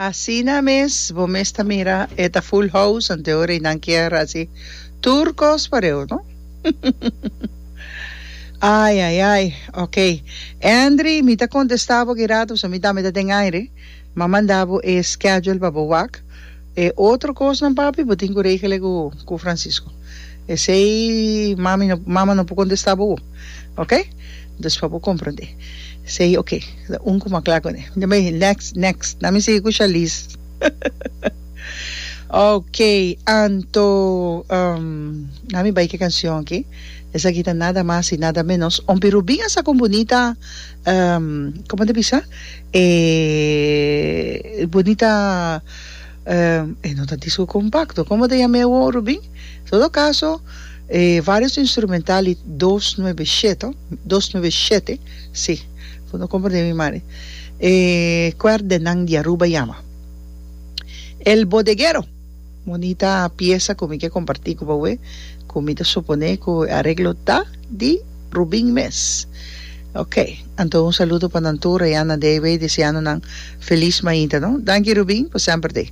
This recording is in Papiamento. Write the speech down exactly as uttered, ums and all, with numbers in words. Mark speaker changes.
Speaker 1: Asina mes, bo mes ta mira, e ta full house, anto ora nan kier hasi tur cos pareu, no? Ai, ai, ai, ok. Andri, mi ta contesta bo ki rato, so mi tambe ta den aire. M'a manda bo e schedule pa bo wak. E otro cosnan, papi, bo tin cu regel cu, cu Francisco. Esey mami no, mama no por contesta bo. Ok? Dus pa bo comprende. Esey ok. Un cu m'a cla cune. Next, next. Laat me sigui cu Charlize. Ok, anto um, laat me bay cu e cancion aki. Esaki ta nada mas y nada menos. Ompi Rubin a saca un bunita, um, con ta bisa? Eh, bunita, um, eh, no ta disco compacto. Con ta yama Rubin? En todo caso, eh, varios instrumental y dos nuebe siete, dos nuebe siete, si, no comprende mi madre. Eh, Cuerdenan di Aruba yama. El Bodeguero. Bunita pieza cu mi kier comparti cu bo, cu mi ta supone cu areglo ta di Rubin mes. Ok, anto un saludo pa nan tur, Rihanna David, deseando nan feliz mainta, no? Danki, Rubin, pa semper de.